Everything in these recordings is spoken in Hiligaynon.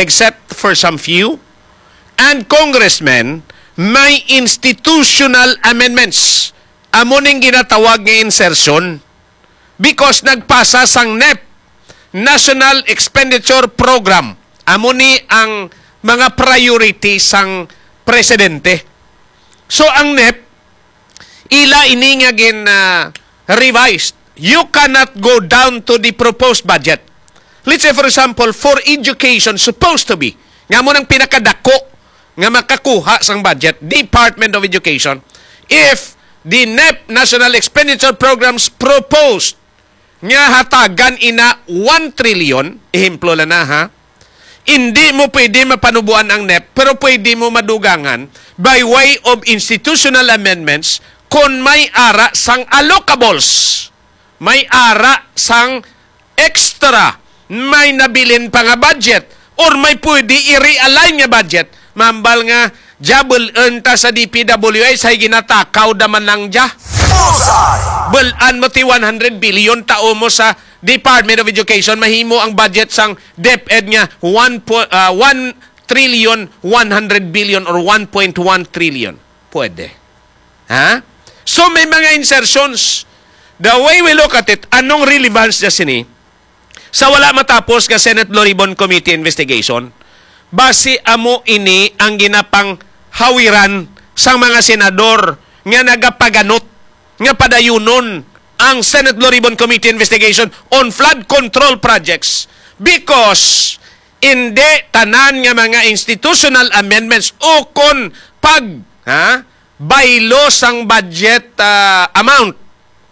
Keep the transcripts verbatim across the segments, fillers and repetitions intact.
except for some few, and congressmen, may institutional amendments. Amo ning ginatawag nga insertion because nagpasa sang nep, National Expenditure Program. Amo ni ang mga priority sang presidente. So, ang nep, ila ini nga gin, ah, revised. You cannot go down to the proposed budget. Let's say, for example, for education, supposed to be, nga mo nang pinakadako nga makakuha sang budget, Department of Education, if the nep, National Expenditure Programs, proposed nga hatagan ina one trillion, ehemplo lang na, ha, hindi mo pwede mapanubuan ang nep, pero pwede mo madugangan by way of institutional amendments kon may ara sang allocables, may ara sang extra, may nabilin pa nga budget, or may pwede i-realign nga budget. Mambal nga, "Jabul enta sa D P W H, hay ginatakaw da man lang dya." Bullseye! Bulan mo ti one hundred billion tao mo sa Department of Education, mahimo ang budget sang DepEd nga one po, ah, one trillion one hundred billion or one point one trillion. Pwede. Ha? So, may mga insertions. The way we look at it, anong relevance niya sini? Sa wala matapos nga Senate Blue Ribbon Committee investigation, basi amo ini ang ginapanghawiran sang mga senador nga nagapaganot nga padayunon ang Senate Blue Ribbon Committee investigation on flood control projects because hindi tanan nga mga institutional amendments o kon pag, ha, baylo sang budget, ah, amount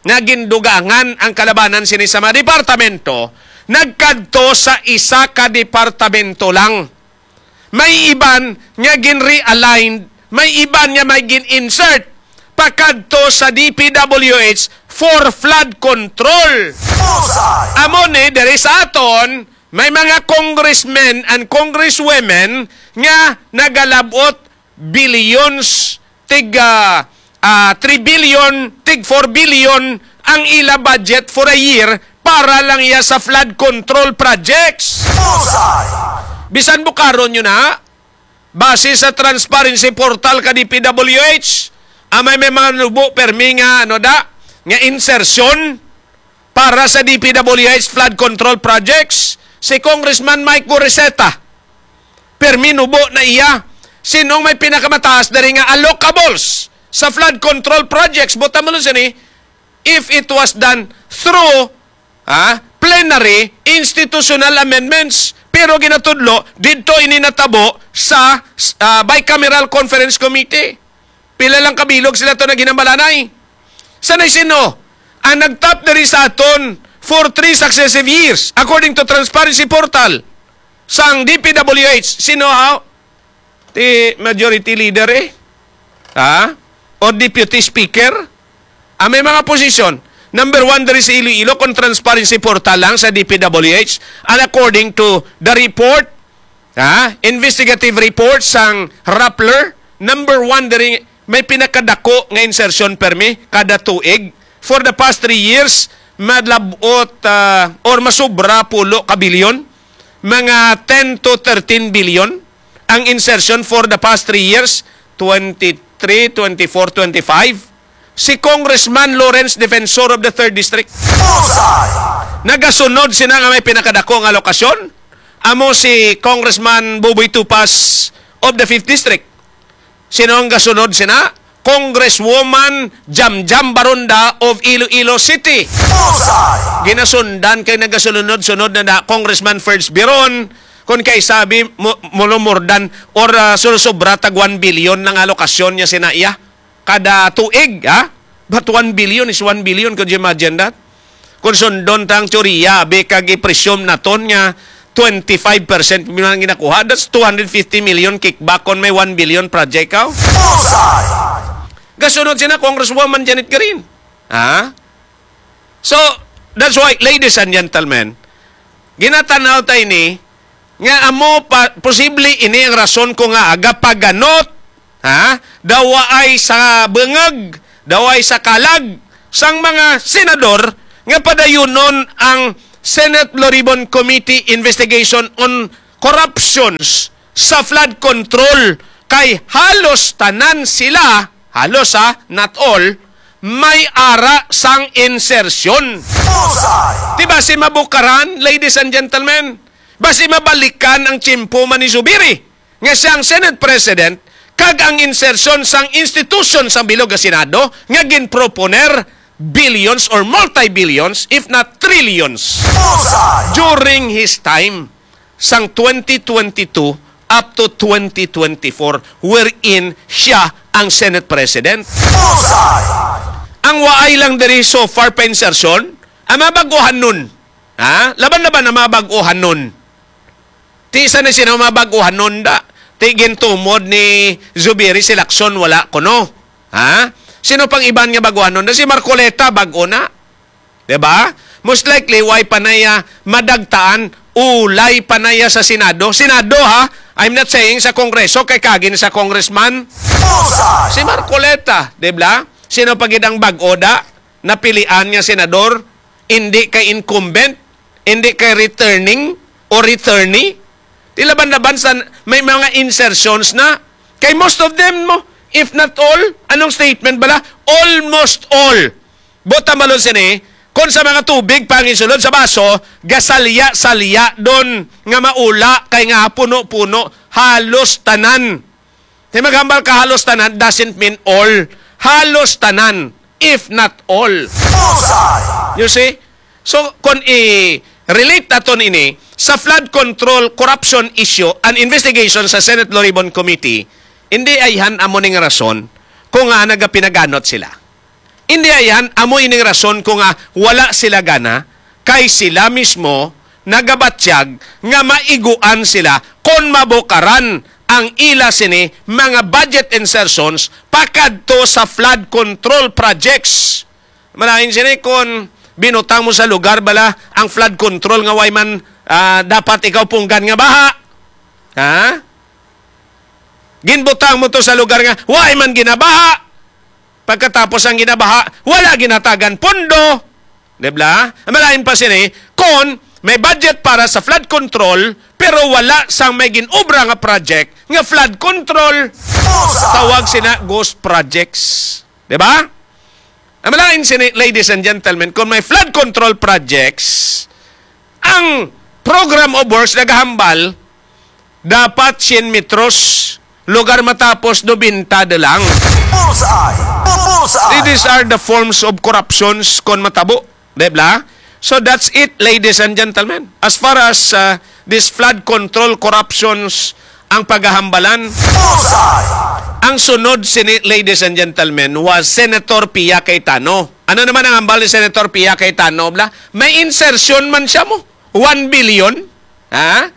nga gindugangan ang kalabanan sini sa mga departamento nagkadto sa isa ka departamento lang. May iban nga gin-realign, may iban nga may gin-insert pakadto sa D P W H for flood control. Bullseye! Amo ni, diri sa aton, may mga congressmen and congresswomen nga nagalabot billions, tig, ah, ah, three billion, tig four billion ang ila budget for a year para lang iya sa flood control projects. Bullseye! Bisan bukaron nyo na, base sa transparency portal ka D P W H, amay may mga nubo permi nga, ano da, nga insertion para sa D P W H flood control projects, si Congressman Mike Goriseta. Permi nubo na iya. Sinong may pinakamataas diri nga allocables sa flood control projects? Buta mo lang sini, if it was done through, ah, plenary institutional amendments. Pero ginatudlo, didto ini natabo sa, ah, Bicameral Conference Committee. Pila lang kabilog sila to naghinambalanay. Sanay sino? Ang nagtap diri sa aton for three successive years, according to Transparency Portal, sang D P W H, sino, ha? Ti Majority Leader, eh. Ha? O Deputy Speaker? Ah, may mga posisyon. Number one diri sa Iloilo, kung Transparency Portal lang sa D P W H. And according to the report, ha, investigative report sang Rappler, number one diri, may pinakadako nga insertion permi kada tuig. For the past three years, madlabot, ah, or masubra pulo ka bilyon, mga ten to thirteen billion ang insertion for the past three years, twenty-three, twenty-four, twenty-five. Si Congressman Lawrence Defensor of the third District. Bullseye! Nagasunod sina nga may pinakadako nga alokasyon. Amo si Congressman Buboy Tupas of the fifth District. Sino ang gasunod sina? Congresswoman Jamjam Baronda of Iloilo City. Bullseye! Ginasundan kay nagasunod-sunod na, na Congressman Ferds Biron, kung kay sabi mo, mulumurdan or, ah, sulusobra tag one billion ng alokasyon niya sina iya kada tuig, ha? But one billion is one billion. Could you imagine that? Kung sundon ta ang teorya, abi, kag i-presume naton nga twenty-five percent man ang ginakuha, that's two hundred fifty million kickback kon may one billion project ka. Bullseye! Gasunod sina Congresswoman Janet Garin. Ha? So, that's why, ladies and gentlemen, ginatanaw ta ini nga amo pa, posible ini ang rason ko nga agapaganot, ha? Daw waay sa bungag, daw waay sa kalag sang mga senador nga padayunon ang Senate Blue Ribbon Committee investigation on corruptions sa flood control, kay halos tanan sila, halos ha, not all, may ara sang insertion. Bullseye! Di ba si mabukaran, ladies and gentlemen? Basi mabalikan ang tiyempo man ni Zubiri, nga siya ang Senate President, kag ang insertion sang institution sang bilog nga Senado nga ginproponer billions or multi-billions, if not trillions, Bullseye! During his time, sang twenty twenty-two up to twenty twenty-four, wherein siya ang Senate President. Bullseye! Ang waay lang diri so far pa insertion, ang mga bag-ohanon. Ha? Laban-laban ang mga bag-ohanon. Ti sa na sino mga bag-ohanon da. Ti gintumod ni Zubiri si Lacson, wala kuno. Ha? Sino pang iban nga bag-ohanon da? Si Marcoleta, bag-o na. Di ba? Most likely, way pa na iya madagtaan, ulay pa na iya sa Senado. Senado, ha? I'm not saying sa Kongreso, kay kagin sa congressman. Bullseye! Si Marcoleta, di ba? Sino pa gid ang bag-o da? Napilian nga senador, hindi kay incumbent, hindi kay returning o returnee. Ti laban-laban sa may mga insertions na. Kay most of them mo, if not all, anong statement bala? Almost all. Buot hambalon sini, kung sa mga tubig pangisulod sa baso, gasalya-salya don nga maula kay nga puno-puno, halos tanan. Ti maghambal ka halos tanan doesn't mean all. Halos tanan, if not all. Bullseye! You see? So, kung i-relate naton ini sa flood control corruption issue, an investigation sa Senate Law Ribbon Committee, hindi ayhan amo ning rason kung nga nagapinaganot sila. Hindi ayhan amo ining rason kung nga wala sila gana, kay sila mismo nagabatyag nga maiguan sila kon mabukaran ang ila sini mga budget insertions pakadto sa flood control projects. Malain sini kon binutang mo sa lugar bala ang flood control nga way man, ah, dapat ikaw punggan nga baha. Ha? Ginbutang mo to sa lugar nga way man ginabaha. Pagkatapos ang ginabaha, wala ginatagan pondo. Di ba? Ang malain pa sini, kon may budget para sa flood control, pero wala sang may ginobra nga project nga flood control. Bullseye! Tawag sina ghost projects. Di ba? Ang malain sini, ladies and gentlemen, kung may flood control projects, ang program of works nagahambal, dapat cien metros, lugar matapos nobenta de lang. Bullseye! Bullseye! These are the forms of corruptions kon matabo, di ba? So that's it, ladies and gentlemen. As far as, uh, this flood control corruptions ang pagahambalan, Bullseye! Ang sunod sini, ladies and gentlemen, was Senator Pia Cayetano. Ano naman ang hambal ni Senator Pia Cayetano, bla? May insertion man siya mo. One billion? Ha?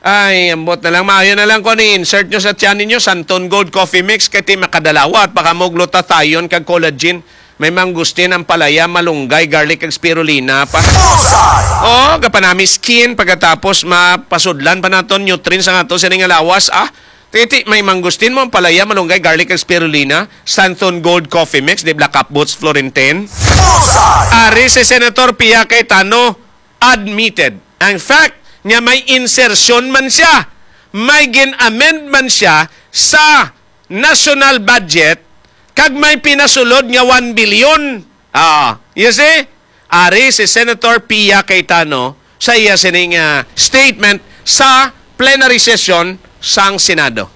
Ay, ambot na lang. Maayo na lang kung i-insert nyo sa tiyan ninyo, Santon Gold Coffee Mix, kay ti makadalawa at baka mo glutatayon kag collagen. May mangustin, ampalaya, malunggay, garlic, kag spirulina pa. Bullseye! Oo, gapanami skin, pagkatapos mapasudlan pa naton nutrients ang ato sining nga lawas, ah. Titi, may mangustin mo, ampalaya, malunggay, garlic, kag spirulina, Santon Gold Coffee Mix, di Black Cap Boots, Florentine. Bullseye! Ari si Senator Pia Cayetano, admitted. Ang fact niya may insertion man siya, may gin-amend man siya sa national budget, kag may pinasulod nga one billion. Ah, you see? Ari si Senator Pia Cayetano sa iya sining, ah, statement sa plenary session sang Senado.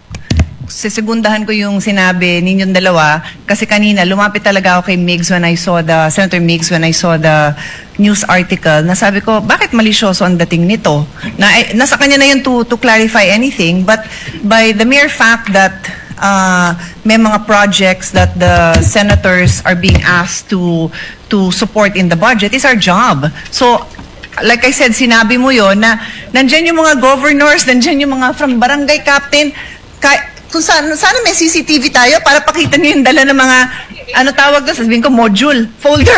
Sesegundahan ko yung sinabi ninyong dalawa kasi kanina lumapit talaga ako kay Migs when I saw the, Senator Migs, when I saw the news article, na sabi ko, "Bakit malisyoso ang dating nito?" Na, eh, nasa kanya na yun to, to clarify anything, but by the mere fact that, uh, may mga projects that the senators are being asked to to support in the budget is our job. So, like I said, sinabi mo yon na nandyan yung mga governors, nandyan yung mga from barangay captain. Ka, kung saan, sana may C C T V tayo para pakita niyo yung dala ng mga, ano tawag doon, sabihin ko, module, folder,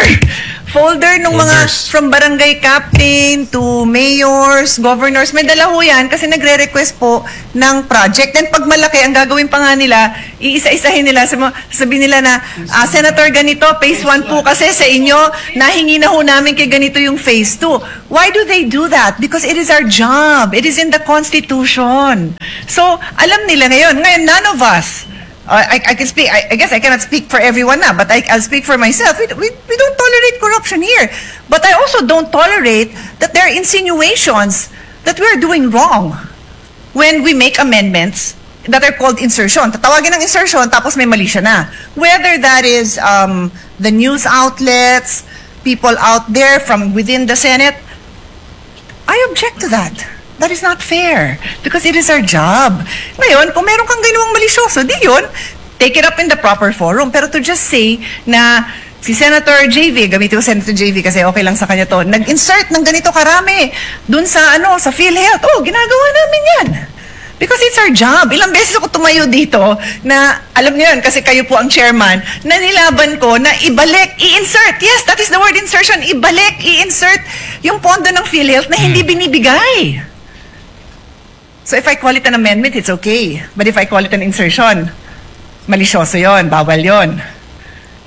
folder ng mga Folders. From barangay captain to mayors, governors, may dala ho yan kasi nagre-request po ng project. Then pag malaki, ang gagawin pa nga nila, iisa-isahin nila. Sa mga, sabi nila na, "Ah, Senator, ganito, phase one po kasi sa inyo, nahingi na ho namin kay ganito yung phase two." Why do they do that? Because it is our job. It is in the Constitution. So, alam nila ngayon. Ngayon, none of us, uh, I, I can speak, I, I guess I cannot speak for everyone na, but I, I'll speak for myself. We, we, we don't tolerate corruption here. But I also don't tolerate that there are insinuations that we're doing wrong when we make amendments that are called insertion. Tatawagin ng insertion, tapos may mali siya na. Whether that is um, the news outlets, people out there from within the Senate, I object to that. That is not fair because it is our job. Ngayon, kung meron kang ginawang malisyoso, di yun, take it up in the proper forum. Pero to just say na si Senator J V, gamitin ko Senator J V kasi okay lang sa kanya to, nag-insert ng ganito karami dun sa, ano, sa PhilHealth. Oh, ginagawa namin yan. Because it's our job. Ilang beses ako tumayo dito na, alam niyo yun, kasi kayo po ang chairman, na nilaban ko na ibalik, i-insert. Yes, that is the word insertion. Ibalik, i-insert yung pondo ng PhilHealth na hindi binibigay. So if I call it an amendment, it's okay. But if I call it an insertion, malisyoso yon, bawal yon.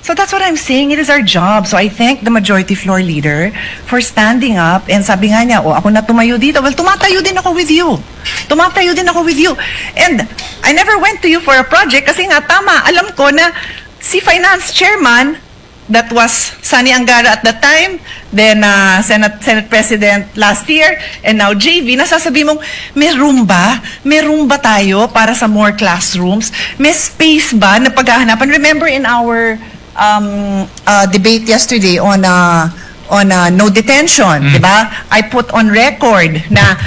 So that's what I'm saying. It is our job. So I thank the majority floor leader for standing up and sabi nga niya, "Oh, ako na tumayo dito." Well, tumatayo din ako with you. Tumatayo din ako with you. And I never went to you for a project kasi nga tama, alam ko na si finance chairman, that was Sonny Angara at that time, then uh, Senate, Senate President last year, and now J V, nasasabi mong may room ba? May room ba tayo para sa more classrooms? May space ba na paghahanapan? Remember in our um, uh, debate yesterday on uh, on uh, no detention, di ba? I put on record na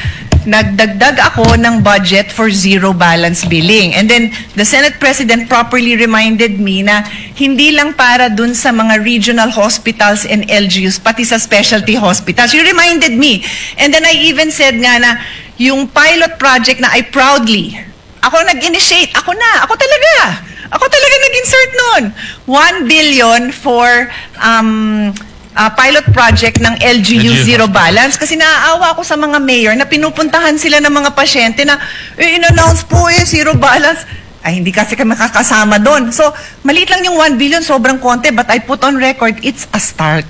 nagdagdag ako ng budget for zero balance billing. And then the Senate President properly reminded me na hindi lang para dun sa mga regional hospitals and L G Us, pati sa specialty hospitals. You reminded me. And then I even said nga na yung pilot project na I proudly, ako nag-initiate, ako na, ako talaga. Ako talaga nag-insert nun. One billion for um, ah, pilot project ng L G U L G U zero hospital. Balance kasi naaawa ako sa mga mayor na pinupuntahan sila ng mga pasyente na, "Eh, in-announce po eh, zero balance." Ay, hindi kasi kami makakasama doon. So, maliit lang yung one billion, sobrang konti, but I put on record, it's a start.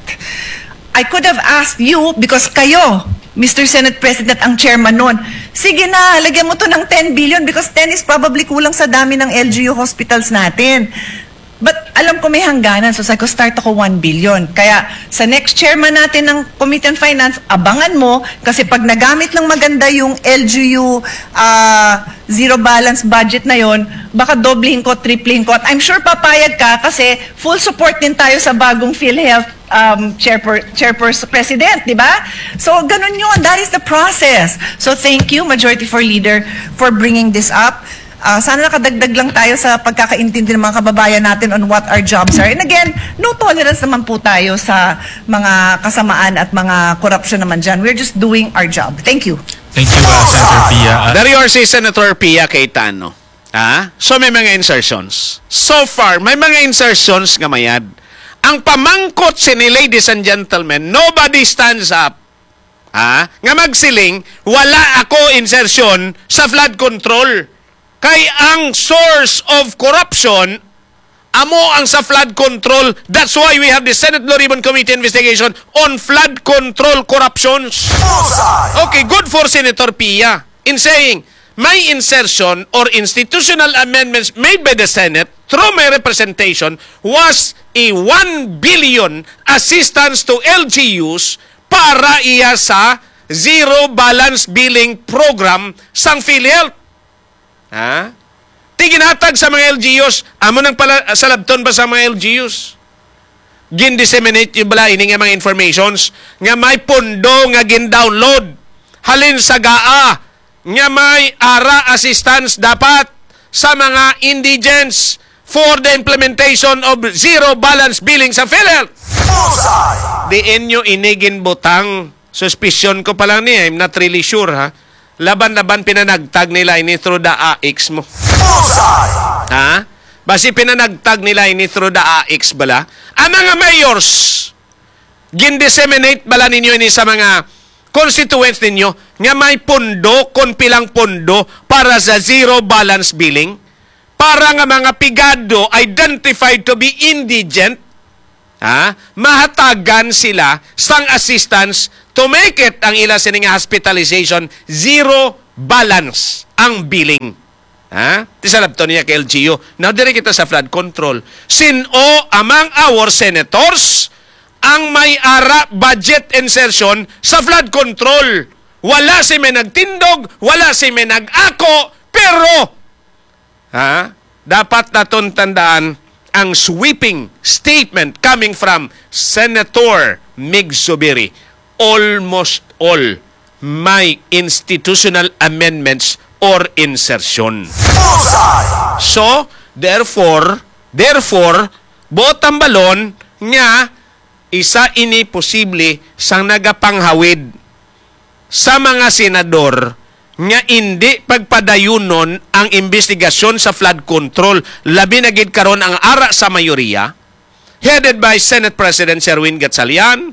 I could have asked you, because kayo, Mister Senate President, ang chairman nun. Sige na, lagyan mo to ng ten billion because ten is probably kulang sa dami ng L G U hospitals natin. But alam ko may hangganan, so sabi ko, "Start ako one billion." Kaya sa next chairman natin ng Committee on Finance, abangan mo, kasi pag nagamit ng maganda yung L G U ah, zero balance budget na yon, baka doblehin ko, triplehin ko. At I'm sure papayag ka kasi full support din tayo sa bagong PhilHealth um, chairper, chairperson, president, di ba? So, ganun yun. That is the process. So, thank you, Majority Floor Leader, for bringing this up. Ah, sana nakadagdag lang tayo sa pagkakaintindi ng mga kababayan natin on what our jobs are. And again, no tolerance naman po tayo sa mga kasamaan at mga korupsyon naman dyan. We're just doing our job. Thank you. Thank you, uh, Senator Pia. Uh, Dari or si Senator Pia Cayetano. Ha? So may mga insertions. So far, may mga insertions nga mayad. Ang pamangkot sini, ladies and gentlemen, nobody stands up, ha? Nga magsiling, "Wala ako insertion sa flood control." Kay ang source of corruption amo ang sa flood control. That's why we have the Senate Blue Ribbon Committee investigation on flood control corruptions. Bullseye! Okay, good for Senator Pia in saying, "My insertion or institutional amendments made by the Senate through my representation was a one billion assistance to L G Us para iya sa zero balance billing program sang PhilHealth." Ha? Ti ginhatag sa mga L G Us, amo nang pala, salabton pa sa mga L G Us. Gin-disseminate niyo bala ini nga mga informations nga may pondo nga gin-download halin sa GAA nga may ara assistance dapat sa mga indigents for the implementation of zero balance billing sa PhilHealth. Bullseye! Diin nyo ini ginbutang? Suspicion ko pa lang ni, I'm not really sure, ha. Laban-laban pinanagtag nila ini through the A I C S mo. Bullseye! Ha? Basi pinanagtag nila ini through the A I C S bala? Ang mga mayors, Gin-disseminate bala ninyo ini sa mga constituents ninyo nga may pondo, kon pilang pondo para sa zero balance billing? Para nga mga pigado identified to be indigent, ha, mahatagan sila sang assistance to make it ang ila sini nga hospitalization zero balance ang billing. Ha? Ti salabton niya kay L G U. Now, diri kita sa flood control. Sin-o among our senators ang may ara budget insertion sa flood control? Wala si may nagtindog, wala si may nag-ako, pero, ha? Dapat naton tandaan ang sweeping statement coming from Senator Mig Zubiri. Almost all may institutional amendments or insertion. Bullseye! So, therefore, therefore, buot tambalon nga isa ini posible sang nagapanghawid sa mga senador nga indi pagpadayunon ang imbestigasyon sa flood control, labi na gid karon ang ara sa mayoriya, headed by Senate President Sherwin Gatchalian,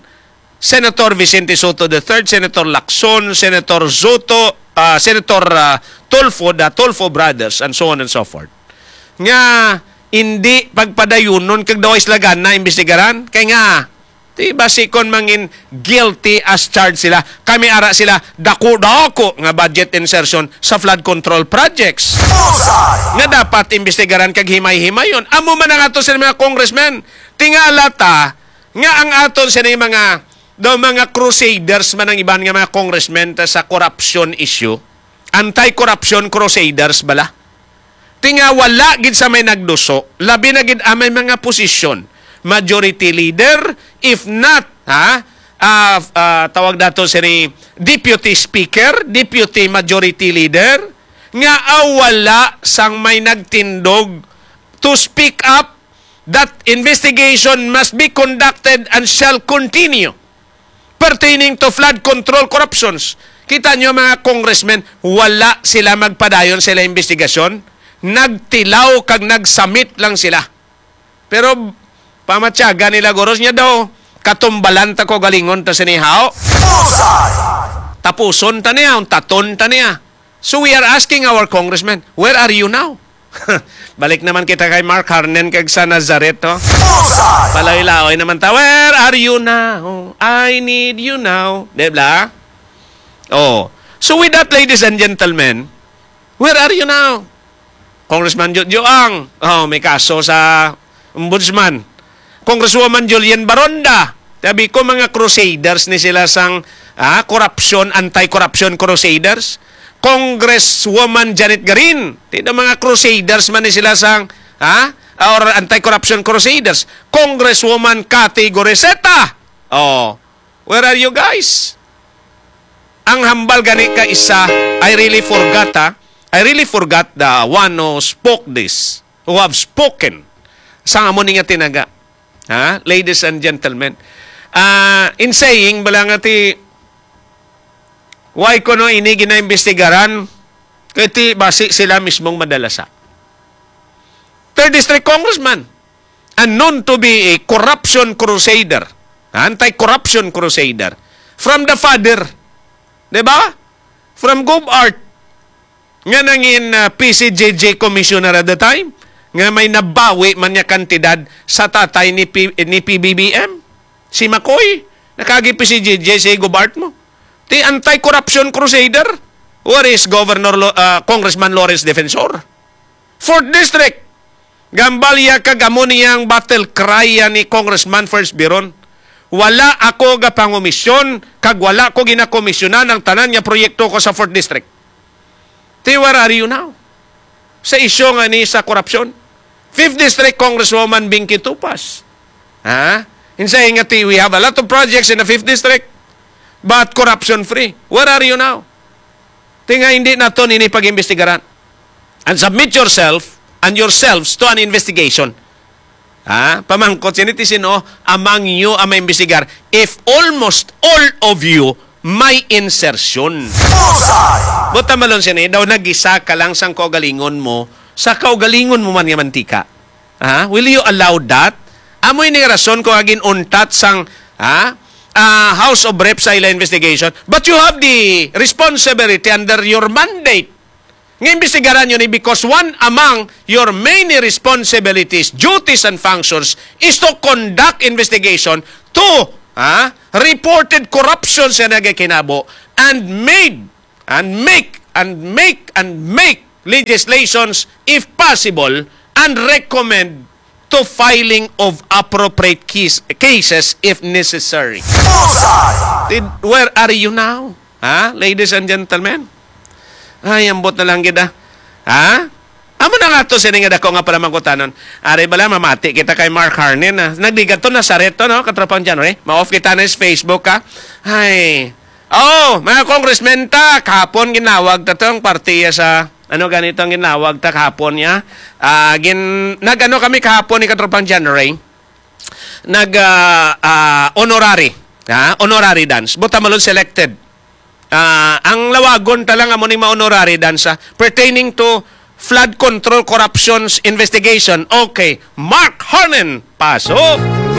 Senator Vicente Sotto the third, Senator Lacson, Senator Sotto, ah, Senator, ah, Tulfo, the Tulfo brothers, and so on and so forth. Nga indi pagpadayunon kag daw sila gana imbestigaran. Kay nga, ti basi kon mangin guilty as charged sila, kami ara sila, dako-dako nga budget insertion sa flood control projects. Bullseye! Nga dapat imbestigaran kag himay-himayon. Amo man ang ato sa mga congressmen. Tingala ta nga ang aton sini mga, daw mga crusaders man ang iban nga mga congressmen ta sa corruption issue. Anti-corruption crusaders bala. Ti nga wala gid sa may nagduso, labi na gid ang may mga posisyon. Majority leader, if not, ha, ah, ah, tawag nato sini deputy speaker, deputy majority leader, nga, ah, wala sang may nagtindog to speak up that investigation must be conducted and shall continue pertaining to flood control corruptions. Kita nyo, mga congressmen, wala sila magpadayon sa ilang investigasyon. Nagtilaw kag nagsamit lang sila. Pero pamatyagan nila, guros, niya daw, katumbalan ta ko galingon ta sinihaw. Bullseye! Tapuson ta niya, untaton ta niya. So we are asking our congressmen, where are you now? Balik naman kita kay Mark Harnen kag sa Nazareth, no? Bullseye! Palaoy-laoy naman ta, "Where are you now? I need you now." Di ba? Oh. So with that, ladies and gentlemen, where are you now? Congressman Jojo Ang, oh, may kaso sa ombudsman. Congresswoman Julian Baronda, sabi ko, mga crusaders ni sila sang, ah, corruption, anti-corruption crusaders. Congresswoman Janet Garin, ti daw mga crusaders man ni sila sang, ah, or anti-corruption crusaders. Congresswoman Cathy Goriseta, oh, where are you guys? Ang hambal gani ka isa, I really forgot, ha? I really forgot the one who spoke this, who have spoken. Sang amo ni nga tinaga. Ha? Ladies and gentlemen. Ah, in saying, bala nga ti, why ko no ini ginaimbestigaran? Kay ti basi sila mismong madalasa. Third District Congressman, and known to be a corruption crusader, anti-corruption crusader, from the father, di ba? From Gov Art, nga nangin, ah, P C J J commissioner at the time, nga may nabawi man niya kantidad sa tatay ni P-, ni P B B M, si Macoy, nakagi P C J J si Gov Art mo. Ti anti-corruption crusader, where is Governor Lo-, ah, Congressman Lawrence Defensor? Fourth District, gambalya kag amo niyang battle cry yan ni Congressman First Biron. Wala ako gapangomisyon kag wala ko ginakomisyonan ang tanan nga proyekto ko sa Fourth District. Ti, where are you now? Sa isyu nga ni sa korupsyon. Fifth District Congresswoman Binky Tupas. Ha? In saying nga ti, we have a lot of projects in the Fifth District, but corruption free. Where are you now? Ti nga hindi naton ini pag-imbestigaran. And submit yourself and yourselves to an investigation. Ha? Pamangkot sini ti sino among you ang maimbestigar if almost all of you may insertion. Buta malon sini, daw nagisa ka lang sang kaugalingon mo, sa kaugalingon mo man nga mantika. Ha? Will you allow that? Amo ini nga rason ko agin untat sang, ha? ah, House of Reps sa ila investigation, but you have the responsibility under your mandate nga imbestigaran yun, eh, because one among your many responsibilities, duties, and functions is to conduct investigation to, ah, reported corruptions nga nagakinabo and made and make and make and make legislations if possible and recommend to filing of appropriate case, cases if necessary. Bullseye! Did, where are you now? Ha? Ladies and gentlemen? Ay, ambot na lang gid, ah. Ha? Amo na nga to, sini nga dako nga palamangkutanon. Ari bala, mamati kita kay Mark Harnin, ah. Nagdigat to, Nazaret to, no? Katropang January. Ma-off kita na sa Facebook, ha? Ay. Oh, mga congressmen ta, kahapon ginawag ta tong partiya sa, ano ganito ang ginawag ta kahapon niya? Ah, gin, nag-ano kami kahapon ni Katropang January? Nag, ah, ah, honorary. Ha? Honorary dance. Buta malon selected. Ah, ang lawagon ta lang amo ning ma-honorary dance, ah, pertaining to flood control corruptions investigation. Okay, Mark Harnin, pasok.